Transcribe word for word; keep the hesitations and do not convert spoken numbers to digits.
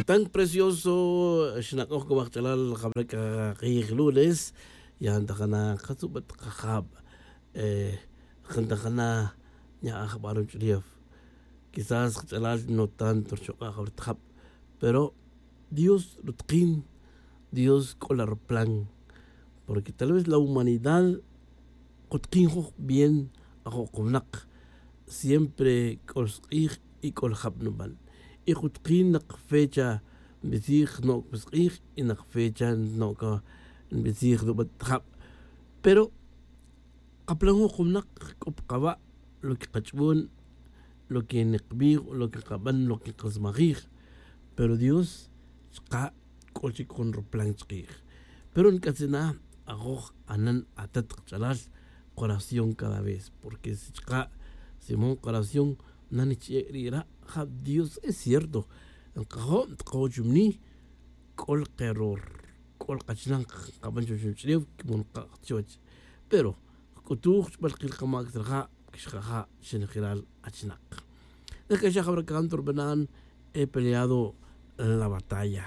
Tan precioso xnak'oj c'a waj ch'alal jabra c'a k'ij lunes. Ya ntajana katzubat kajab. Jantajana nya'aj jaba' ruch'ulef. Quizás kach'alal no tanto rchuk'a' jabra tajab, pero dios rutkin. Dios c'o la ruplan. Porque tal vez la humanidad kutkin juj bien. Ajo' kuwnak siempre c'o sk'ij y c'o ljab nuban. Y kutkin nak fecha nbitzij no' sk'ij y nak fecha no' nbitzij nuban jab. Pero kaplan juj kuwnak c'o pa kawa' lo que kach'ubon, lo que nikbij, lo que kaban, lo que kasmajij. Pero dios chka' c'o chic jun ruplan chkij. Pero nc'atzin na ajoj anan atat kach'alal, koración cada vez porque si chka' si man koración na nich'e' ri' ra'. Ja dios es cierto, nkajo' ntkajo' chumni. C'o lkeror, c'o lkachinan kaban chuwech ruch'ulef. Kimon ka' chuwech pero kc'utuj chbal kil kamac tzraja' quixjaja' xinjelal. Achinak nac'axaj abra canto rubanan he peleado la batalla.